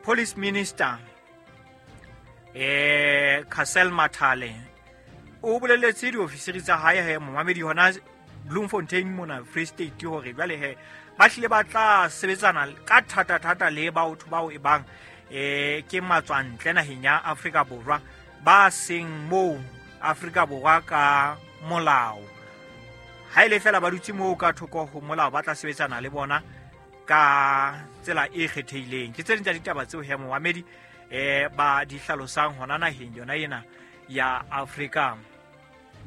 Police Minister Cassel Mathale o boleletse diofisiri tsa hae he momamedi hona Bloemfontein mona Free State hore jwale he ba hlile ba tla sebetsana ka thata-thata le batho bao e bang ke matswantle naheng ya Afrika Borwa ba seng moo Afrika Borwa ka molao. Ha ile fela ba dutse moo ka thoko ho molao, ba tla sebetsana le bona ka tsela e kgethehileng. Ke tse ding tsa ditaba tseo he momamedi ba di hlalosang hona naheng yona ena ya Afrika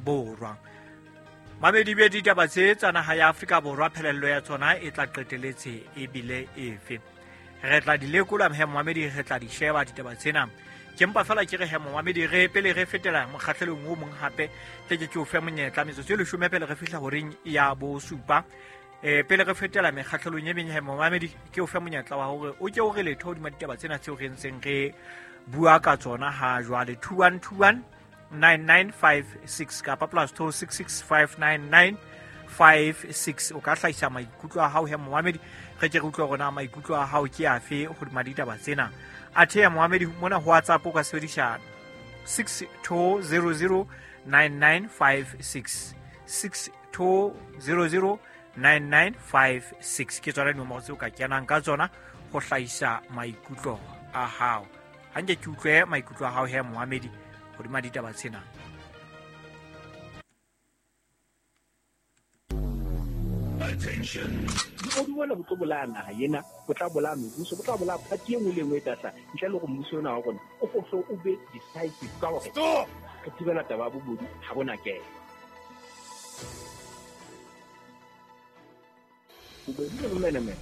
Borwa. Mamedi be ditaba tse tsa naha ya Afrika Borwa, phelello ya tsona e tla qeteletse ebile efe. Re tla di lekola he momamedi, re tla di sheba ditaba tsena. Ke mpa fela ke re he momamedi, re pele re fetela mokgahlelong o mong hape, tle ke o fe monyetla metsotso e 10 pele re fihla horeng ya bosupa. Pele re fetela mekgahlelong e meng he momamedi, ke o fe monyetla wa hore o ke o re letho hodima ditaba tsena tseo re ntseng re bua ka tsona ha jwale. 2121 9956 kapa +266 59956. O ka hlahisa maikutlo a hao he momamedi, re ke re utlwe hore na maikutlo a hao ke afe hodima ditaba tsena. Athe ya momamedi mona ho WhatsApp o ka sebedisa 62009956, 62009956 ke tsona dinomoro tseo ka kenang ka tsona ho hlahisa maikutlo a hao. Ha nke ke utlwe maikutlo a hao he momamedi hodima ditaba tsena. Attention. Bobodu bona bo tlo bolaya naha ena, bo tla bolaya mebuso, bo tla bolaya party e nngwe le e nngwe e tla hlaha. Ntle le hore mmuso ona wa rona o fohle o be decisive ka hore Stop! re thibela taba ya bobodu ha bona kena. Bobodu le bomenemene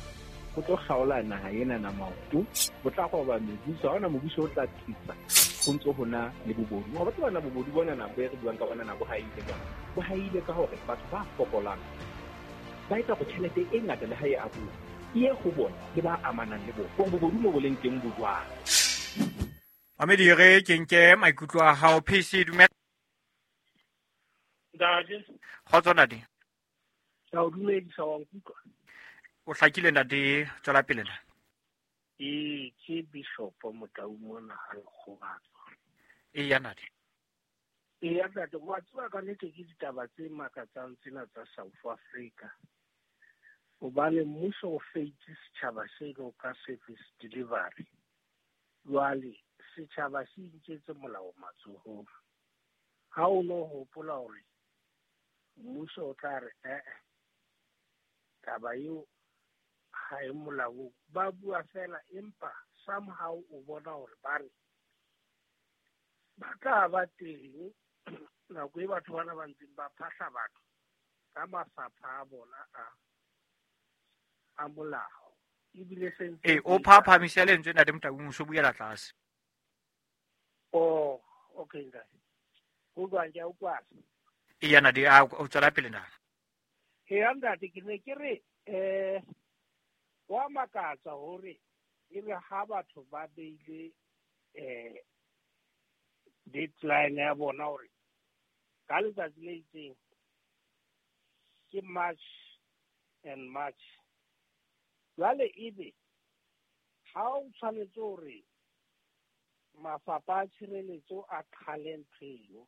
bo tlo kgaola naha ena na maoto, bo tla roba mebuso, ha hona mobuso o tla tsitsa ho ntso ho na le bobodu. Wa tseba na bobodu bona na bo e re buang ka bona na bo haile jwang? Bo haile ka hore batho ba fokolang ba etsa hore tjhelete e ngata le ha e abuwa e ye ho bona le ba amanang le bona, hore bobodu mo bo leng teng bo jwang. Mamedi, re ke nke maikutlo a hao. PC, dumela. Ntate. Kgotso, ntate. Ke a o dumedisa, wa nkutlwa? O hlakile, ntate, tswela pele na. Ee, ke Bishop Motau mona ha Lekgobatso. Eya, ntate. Eya, ntate, wa tseba ka nnete ke ditaba tse makatsang tsena tsa South Africa. Hobane mmuso o feitse setjhaba seno ka service delivery. Jwale setjhaba se inketse molao matsohong. Ha o no hopola hore mmuso o tla re taba eo ha e molaong, ba bua fela, empa somehow o bona hore ba re ba tla ba teng nako e batho bana ba ntseng ba phahla batho ka mafapha a bona a molao. Ebile se ntse o phaphamise lentswe ntate Motau, o buela tlase. Oh, okay, ntate. Ho jwang, ke a utlwa. Eya, ntate, a o tswela pele ntate. Eya, ntate, ke ne ke re wa makatsa hore ebe ha batho ba beile deadline ya bona hore ka letsatsi le itseng ke March and March, jwale ebe ha o tshwanetse hore mafapha a tshireletso a qhale ntho eno,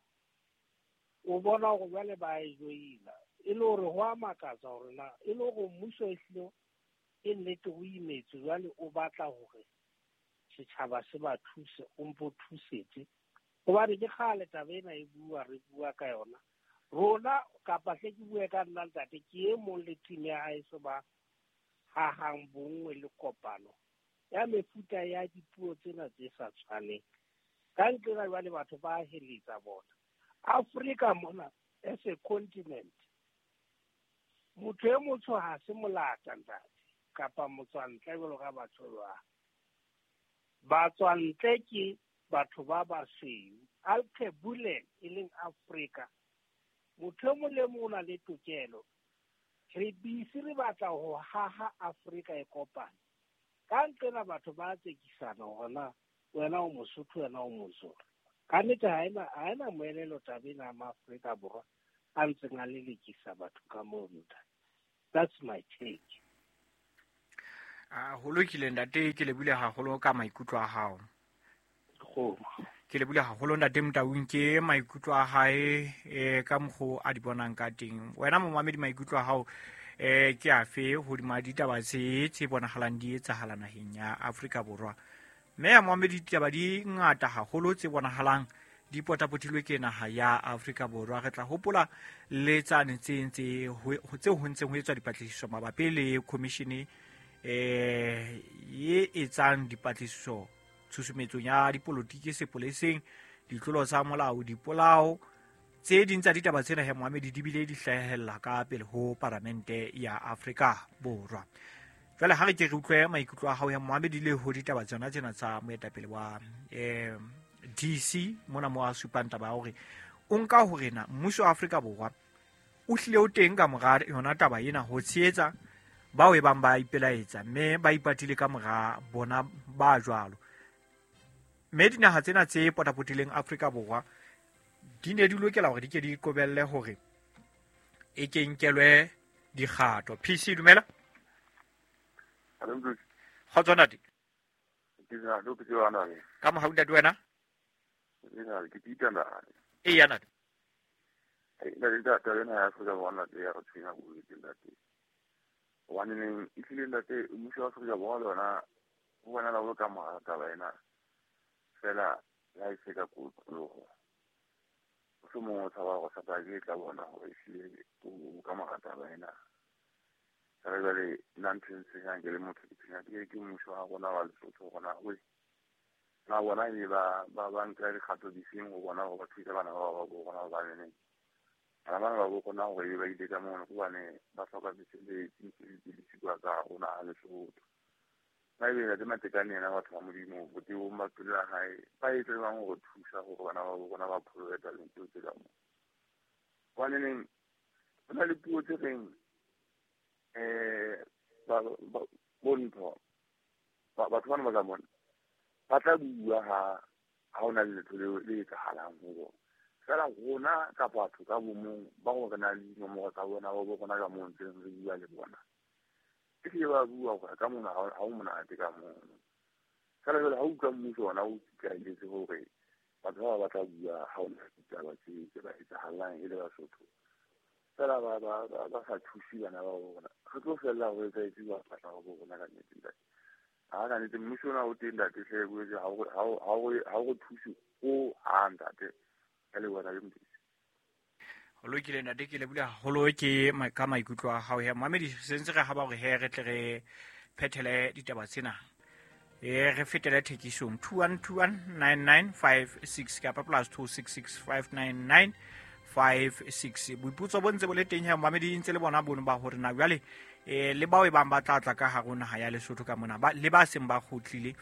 o bona hore jwale ba e joina. E le hore ho a makatsa hore na e le hore mmuso e hlile e nnete o imetse, jwale o batla hore setjhaba se ba thuse, o mpo thusetse. Hobane ke kgale taba ena e bua, re bua ka yona. Rona kapa hle ke bue ka nna ntate, ke e mong le team ya hae so ba hahang bonngwe le kopano ya mefuta ya dipuo tsena tse sa tshwaneng. Ka ntle jwale batho ba heletsa bona. Afrika mona as a continent, motho e motsho ha se molata ntate, kapa motswantle jwalo ka batho ba. Batswantle ke batho ba basweu. Alkebulan e leng Afrika, motho e mong le mong o na le tokelo. Re busy re batla ho haha Afrika e kopane. Ka nqena batho ba tsekisana hore na wena o Mosotho, wena o Mozulu. Ka nnete ha ena moelelo taba ena ya Maafrika Borwa a ntseng a lelekisa batho ka moo, ntate. That's my take. Ho lokile ntate, ke lebile haholo ka maikutlo a hao. Ke lebile haholo ntate Motaung ke maikutlo a hae ka mokgo a di bonang ka teng. Wena momamedi maikutlo a hao ke afe hodima ditaba tse bonahalang di etsahala naheng ya Afrika Borwa? Mme ya momamedi ditaba di ngata haholo tse bonahalang di potapotilwe ke naha ya Afrika Borwa. Re tla hopola le tsane tse ho ntseng ho etswa dipatlisiso mabapi le commission e etsang dipatlisiso tshusumetsong ya dipolotiki sepoleseng, ditlolo tsa molao, dipolao. Tse ding tsa ditaba tsena he moamedi di bile di hlahella ka pele ho paramente ya Afrika Borwa. Jwale ha re ke re utlwe maikutlo a hao ya moamedi le ho ditaba tsona tsena tsa moetapele wa DC mona mo a supang taba ya hore o nka hore na mmuso wa Afrika Borwa o hlile o teng ka mora yona taba ena ho tshehetsa bao e bang ba ipelaetsa mme ba ipatile ka mora bona ba jwalo. Mme dinaha tsena tse potapotileng Afrika Borwa di ne di lokela hore di ke di qobelle hore e ke nkelwe dikgato. PC dumela. Kgotso ntate. Ka mohau ntate wena? Eya ntate. Hobane ehlile ntate mmuso wa Afrika Borwa le yona ho bonahala o le ka mora taba ena fela le ha e se ka kotloloho. Mohlomong o tshaba hore satake e tla bona hore ehlile o ka mora taba ena. Fela jwale nna ntho e ntshwenyang ke le motho ke tshwenya ke mmuso wa rona wa Lesotho hore na na bona ebe ba nka dikgato difeng ho bona hore ba thusa bana ba bo rona hobaneneng. Bana bana ba bo rona hore ebe ba ile ka mono hobane ba hloka mesebetsi, mesebetsi le sikuwa ka rona a Lesotho. Na ebe Ntate Matekane yena batho ba Modimo botebong ba pelo ya hae ba etse jwang hore thusa hore bana ba bo rona ba pholohe tabeng tseo tse ka moo. Hobaneneng ho na le puo tse reng bontho batho bana ba ka mona ba tla bua ha hona le letho le etsahalang ho bona. Fela rona ka batho ka bomong ba go re na le dinomoro tsa bona ba bo rona ka moo ntseng re bua le bona. Ehlile ba bua hore ka mona ha o monate ka mono. Fela jwale ha o utlwa mmuso ona o ikaeletse hore batho ba ba tla bua ha ona ditaba tse ba etsahalang e le Basotho. Fela ba sa thuse bana ba bona. Re tlo fella ho etsa ba batla ho bona ka nnete ntate. Ha ka nnete mmuso ona o teng ntate hle boetse ha o thuse o ha ntate. Ka leboha le Modimo. Ho lokile ntate, ke lebile haholo ke ka maikutlo a hao. Mamedi sentse re haba hore he re tle re phethele ditaba tsena. Re fetele thekisong 21219956 kapa +26659956. Boipotso bo ntse bo le teng he mamedi ntse le bona bono ba hore na jwale le bao e bang ba tla tla ka hare ho naha ya Lesotho ka mona le ba seng ba kgutlile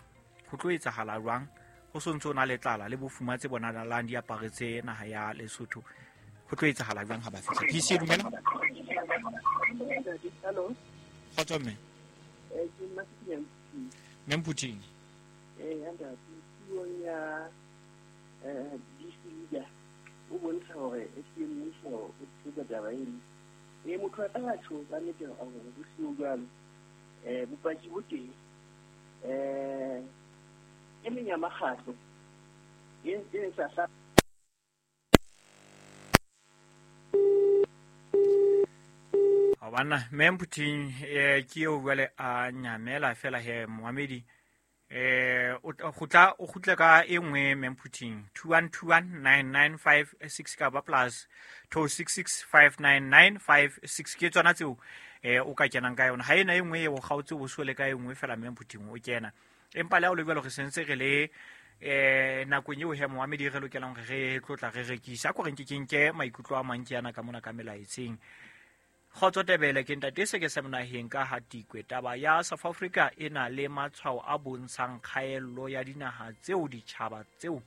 ho tlo etsahala jwang? Ho sontso o na le tlala le bofuma tse bonahalang di aparetse naha ya Lesotho. Ho tlo etsahala jwang ha ba fihla? PC dumela. Hello. Kgotso mme. Ke nna Mme Mphuthing. Ntate, puong ya DC leader o bontsha hore ehlile mmuso o tshehetsa taba eno. Motho a ka tjho ka nnete hore ho seo jwalo. Bopaki bo teng. E meng ya makgatlo e sa Banna mme Mphuthing ke eo jwale a nyamela fela he moamedi o kgutla ka e nngwe mme Mphuthing 21219956 kapa +26659956 ke tsona tseo o ka kenang ka yona. Ha ena e nngwe e o kgaotse o sole ka e nngwe fela mme Mphuthing o kena. Empa le ha o le jwalo re sentse re le nakong eo he moamedi re lokelang hore re tlotla re rekisa. Ko re nke ke nke maikutlo a mang ke yana ka mona ka melaetseng. Kgotso Tebele ke ntate se ke se monaheng ka Hatikwe. Taba ya South Africa e na le matshwao a bontshang kgaello ya dinaha tseo ditjhaba tseo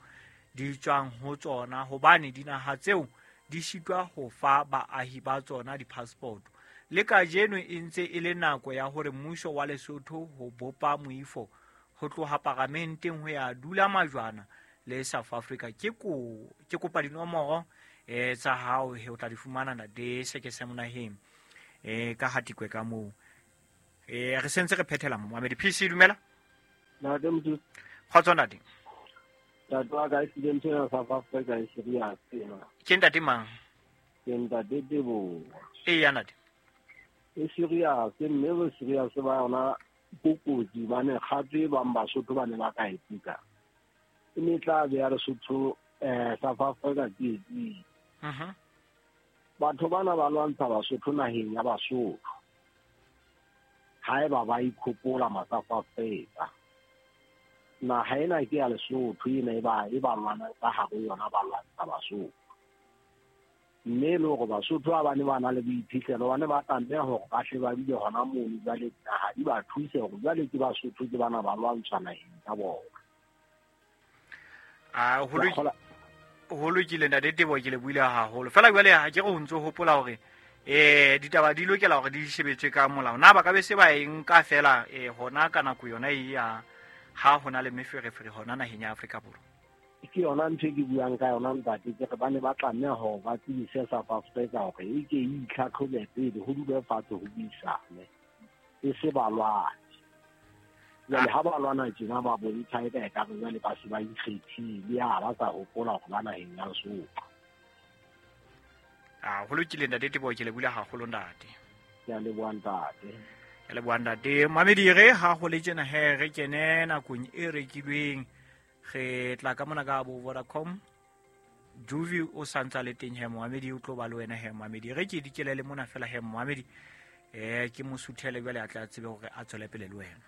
di tswang ho tsona, hobane dinaha tseo di sitwa ho fa baahi ba tsona di-passport. Le kajeno e ntse e le nako ya hore mmuso wa Lesotho ho bopa moifo ho tloha paramenteng ho ya dula majwana le South Africa. Ke kopa dinomoro tsa hao he o tla di fumana ntate se ke se monaheng ka Hatikwe ka moo. Re sentse re phethela momamedi. PC dumela. Ntate Mothusi. Kgotso ntate. Ntate wa ka ehlile ntho ena South Africa e serious ena. Ke ntate mang? Ke ntate Teboho. Eya ntate. E serious, mme bo serious ba yona bo kotsi bane kgato e bang Basotho ba ne ba ka e kuka. E ne tla beya Lesotho South Africa tsietsing. Batho bana ba lwantsha Basotho naheng ya Basotho. Haeba ba ikhopola ma-South Africa. Naha ena ke ya Lesotho ena e ba lwanang ka hare yona ba lwantsha Basotho. Mme le hore Basotho ba bane ba na le boiphihlelo ba ne ba tlameha hore ba hle ba dule hona mono jwale naha di ba thuse hore jwale ke Basotho ke bana ba lwantshwa naheng tsa bona. Ho lokile ntate Teboho, ke le buile haholo. Fela jwale ha ke re ho ntso hopola hore ditaba di lokela hore di shebetswe ka molao. Na ba ka be se ba e nka fela hona ka nako yona e ya ha hona le meferefere hona naheng ya Afrika Borwa? Ke yona ntho e ke buang ka yona ntate, ke re ba ne ba tlameha hore ba tsebise South Africa hore e ke e itlhatlhobe pele ho dule fatshe ho buisane, e se ba lwane. Jwale ha ba lwana tjena ba bontsha eka ekare jwale ba se ba ikgethile, ha ba sa hopola hore ba naheng ya Lesotho. Ho lokile ntate Teboho, ke le bula haholo ntate. Ke a leboha ntate. Ke leboha ntate. Mamedi re ha ho le tjena he re kene nakong e rekilweng. Re tla ka mona ka bo Vodacom. Juvi o santsa le teng he momamedi, o tlo ba le wena he momamedi. Re ke dikele le mona fela he momamedi. Ke mo suthele jwale a tla tsebe hore a tswele pele le wena.